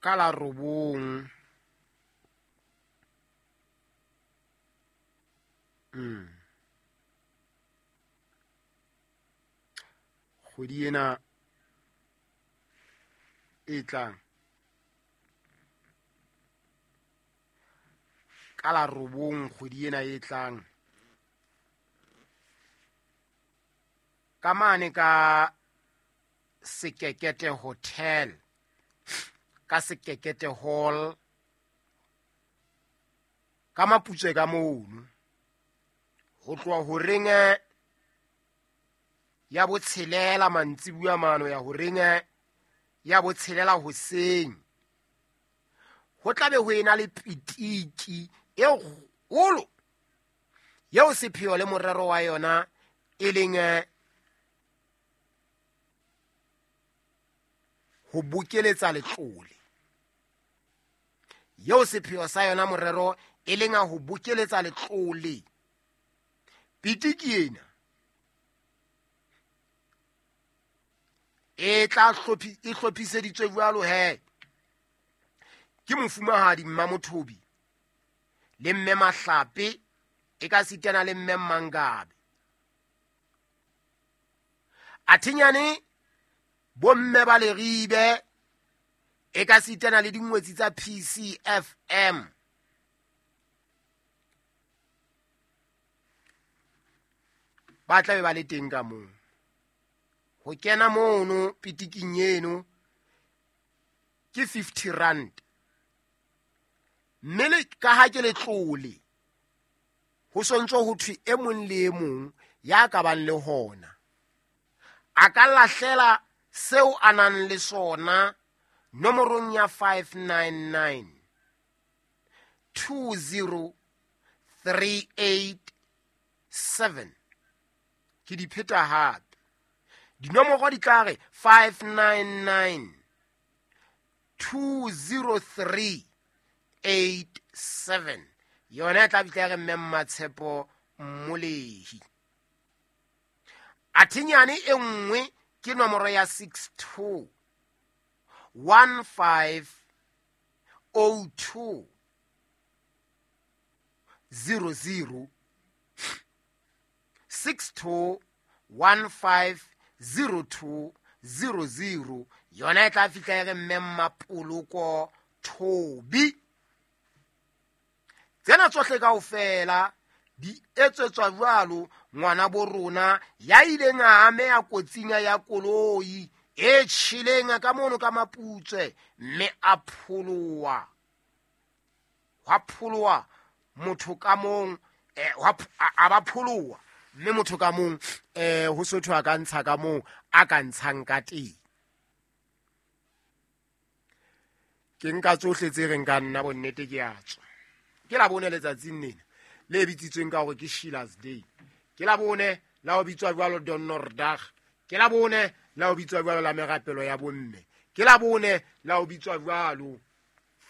Ka la 9 kgwedi ena e tlang, ka la 9 kgwedi ena e tlang, ka mane ka Sekekete Hotel, ka Sekekete Hall, ka Maputswe ka mono, ho tloha horeng ya 6 mantsibuya mano ya horeng ya 6 hoseng, ho tlabe ho ena le pitiki e kgolo eo sepheo le morero wa yona e leng ho bokeletsa letlole. Eo sepheo sa yona morero e leng a ho bokeletsa letlole. Pitiki ena e tla e hlophiseditswe jwalo he ke mofumahadi Mmamothobi le mme Mahlape, e ka sitana le mme Mmangabe. Athinyane bomme ba Leribe, e ka sitana le dingwetsi tsa PCFM. Ba tla be ba le teng ka moo. Ho kena mono pitiking eno ke 50 rand. Mme le ka ha ke letlole, ho sontso ho thwe e mong le e mong ya ka bang le hona a ka lahlela seo a nang le sona nomorong ya 599 20387. Ke di pheta hape, dinomoro di tla re 599 20387. Yona e tla bitla ya re mme Mmatshepo Mmolehi. Athinyane e nngwe ke nomoro ya 62 15 02 00, 62 15 02 00. Yona e tla fihla e re mme Mmapoloko Thobi. Tsena tsohle kaofela di etsetswa jwalo ngwana bo rona ya ileng a ameha kotsing ya koloi e tjheleng ka mono ka Maputswe, mme a pholoha. Hwa pholoha motho ka mong, hwa a ba pholoha, mme motho ka mong, ho sotho a ka ntsha ka moo a ka ntshang ka teng. Ke nka tsohle tse reng ka nna bonnete ke a tswa. Ke la bone letsatsing lena le bitsitsweng ka hore ke Sheila's Day. Ke la bone la ho bitswa jwalo Donnerdag. Ke la bone la ho bitswa jwalo la merapelo ya bomme. Ke la bone la ho bitswa jwalo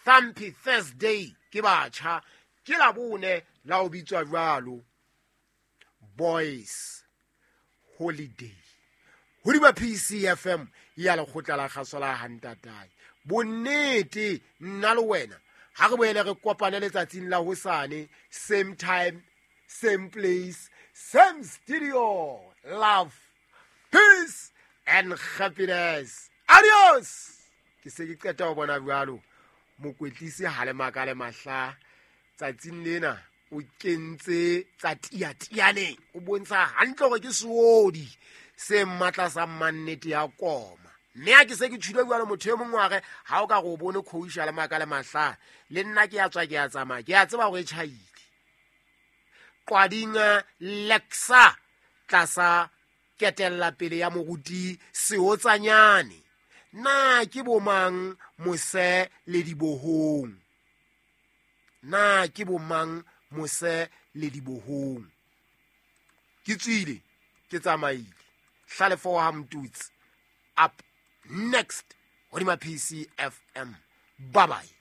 Thumpy Thursday ke batjha. Ke la bone la ho bitswa jwalo Boys Holiday. Hodima PCFM ya lekgotla la kgaso la Hantatae. Bonnete nna le wena ha re boele re kopane letsatsing la hosane, same time, same place, same studio. Love, peace and happiness. Adios. Ke se ke qeta ho bona jwalo mokwetlisi ha le maka le mahla tsatsing lena o kentse tsa tiatiane, o bontsha hantle hore ke seodi se matla sa mannete ya koma. Mme ha ke se ke tshwile jwalo motho e mong wa re ha o ka re o bone coach le maka le mahla, le nna ke a tswa ke a tsamaya, ke a tseba hore e tjhaile. Qwading Lexa tlasa ketella pele ya moruti Seotsanyane. Na ke bomang mose le dibohong? Na ke bomang mose le dibohong? Ke tswile, ke tsamaile. Hlalefo wa Mtutsi up next hodima PCFM. Bye bye.